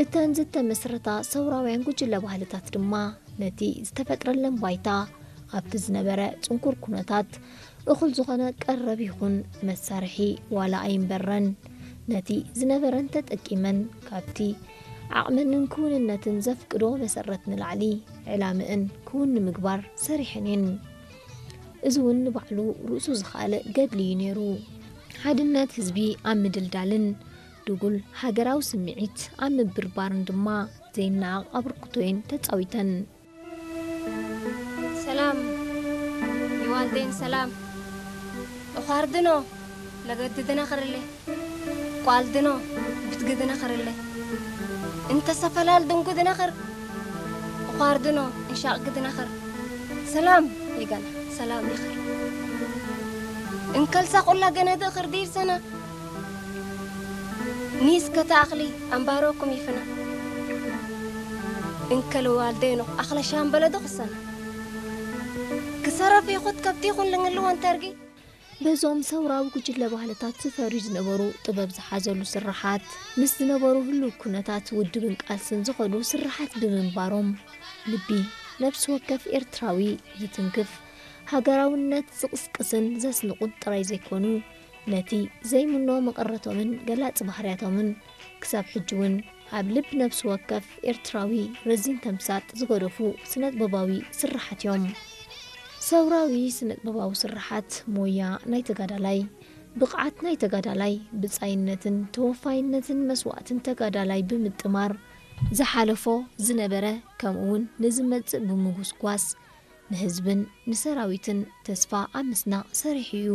እተን ዝተመስረታ ሰውራውያን ጉጅለ ባህልታት ድማ ነቲ ዝተፈጥረለን ባይታ፣ ኣብቲ ዝነበረ ጽንኩር ኩነታት እኹል ዝኾነ ቀረብ ይኹን መሳርሒ ዋላ ኣይንበረን፣ ነቲ ዝነበረን ተጠቂመን ካብቲ ዓቕመንን ክውንነትን ዘፍቅዶ መሰረት ንላዕሊ ዕላምእን ክውን ንምግባር ሰሪሐን እየን። እዚ እውን ንባዕሉ ርእሱ ዝኸኣለ ገድሊ እዩ ነይሩ። ሓድነት ህዝቢ ኣብ ምድልዳልን ድጉል ሃገራዊ ስምዒት ኣብ ምብርባርን ድማ ዘይነዓቕ ኣበርክቶ እየን ተጻዊተን። ሰላም ይዋልደይን ሰላም። እዃርድኖ ለገድድና ኸርለ ቋልድኖ ብትግድና ኸርለ እንተ ሰፈላል ድንጉድና ኸር እዃርድኖ እንሻቕ ግድና ኸር ሰላም ይገና ሰላም ይኸር እንከልሳ ቁላ ገነድ ኸር ዲር ሰና ኒስ ከተኣኽሊ ኣምባሮኩም ይፍና እንከል ዋልደይኖ ኣኽለ ሻምበለ ዶ ኽሰና ክሰረፍ ይኹት ከብቲ ይኹን ልንግልወን ተርጊ በዞም ሰውራዊ ጉጅለ ባህልታት ዝፈርዩ ዝነበሩ ጥበብ ዝሓዘሉ ስርሓት፣ ምስ ዝነበሩ ህሉው ኩነታት ውድብን ቃልስን ዝኸዱ ስርሓት ብምንባሮም፣ ልቢ ነፍሲ ወከፍ ኤርትራዊ ዝትንክፍ፣ ሃገራውነት ዝቕስቅስን ዘስንቑን ጥራይ ዘይኮኑ፣ ነቲ ዘይምኖ መቐረቶምን ገላጺ ባህርያቶምን ክሳብ ሕጂ እውን ኣብ ልብ ነፍሲ ወከፍ ኤርትራዊ ረዚን ተምሳጥ ዝገደፉ ስነጥበባዊ ስርሓት እዮም። ሰውራዊ ስነጥበባዊ ስርሓት ሞያ ናይ ተጋዳላይ፣ ብቕዓት ናይ ተጋዳላይ፣ ብጻይነትን ተወፋይነትን መስዋእትን ተጋዳላይ ብምጥማር፣ ዝሓለፎ፣ ዝነበረ፣ ከምኡውን ንዝመጽእ ብምጉስጓስ፣ ንህዝብን ንሰራዊትን ተስፋ ኣብ ምስናቕ ሰሪሑ እዩ።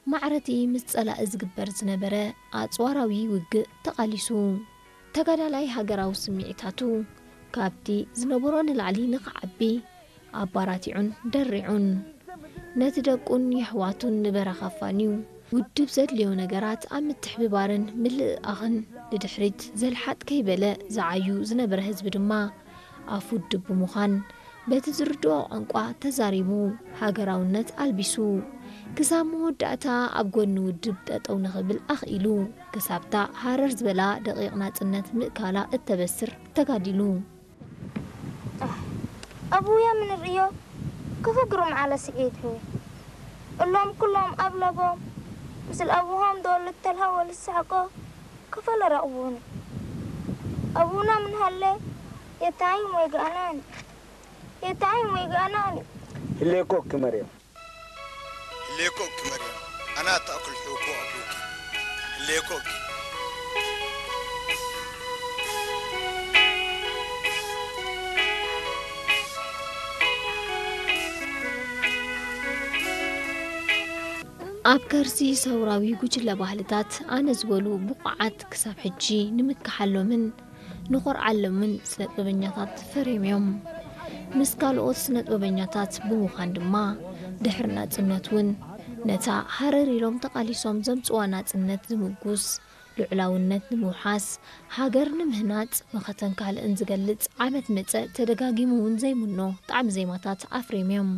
ማዕረቲ ምስ ጸላኢ ዝግበር ዝነበረ ኣጽዋራዊ ውግእ ተቓሊሱ። ተጋዳላይ ሃገራዊ ስምዒታቱ ካብቲ ዝነበሮ ንላዕሊ ንኽዓቢ ኣባራቲዑን ደሪዑን፣ ነቲ ደቁን የሕዋቱን ንበረኻ ኣፋንዩ፣ ውድብ ዘድልዮ ነገራት ኣብ ምትሕብባርን ምልእኣኽን ንድሕሪት ዘልሓጥ ከይበለ ዝዓዩ ዝነበረ ህዝቢ ድማ ኣፍ ውድብ ብምዃን፣ በቲ ዝርድኦ ቋንቋ ተዛሪቡ፣ ሃገራውነት ኣልቢሱ፣ ክሳብ መወዳእታ ኣብ ጎኒ ውድብ ጠጠው ንኽብል ኣኽኢሉ፣ ክሳብታ ሃረር ዝበላ ደቂቕ ናጽነት ምእካላ እተበስር ተጋዲሉ። ኣህ፣ ኣቡያ ምን ርእዮ ክፈግሩ መዓለ ስዒድ ህወ እሎም ኩሎም ኣብ ለቦም ምስል ኣቡሆም ደወልድ ተልሃወ ልሳሕቆ ክፈለ ረቕቡኒ። ኣቡና ምን ሃለ የታይም ወይ ገኣናኒ፣ የታይም ወይ ገኣናኒ። ህሌኮ ክመርዮ። ህሌኮ ክመርዮ። ኣና ተኣኩል ሕውኮ ኣቡኪ። ህሌኮ ኣብ ከርሲ ሰውራዊ ጉጅለ ባህልታት ኣነ ዝበሉ ብቑዓት ክሳብ ሕጂ ንምክሓሎምን ንኾርዓሎምን ስነጥበበኛታት ፈርዮም እዮም። ምስ ካልኦት ስነጥበበኛታት ብምዃን ድማ ድሕሪ ናጽነት እውን ነታ ሃረር ኢሎም ተቓሊሶም ዘምጽዋ ናጽነት ዝምጉስ፣ ልዑላውነት ንምውሓስ፣ ሃገር ንምህናጽ መኸተን ካልእን ዝገልጽ ዓመት መጸ ተደጋጊሙ እውን ዘይምኖ ጣዕሚ ዜማታት ኣፍርዮም እዮም።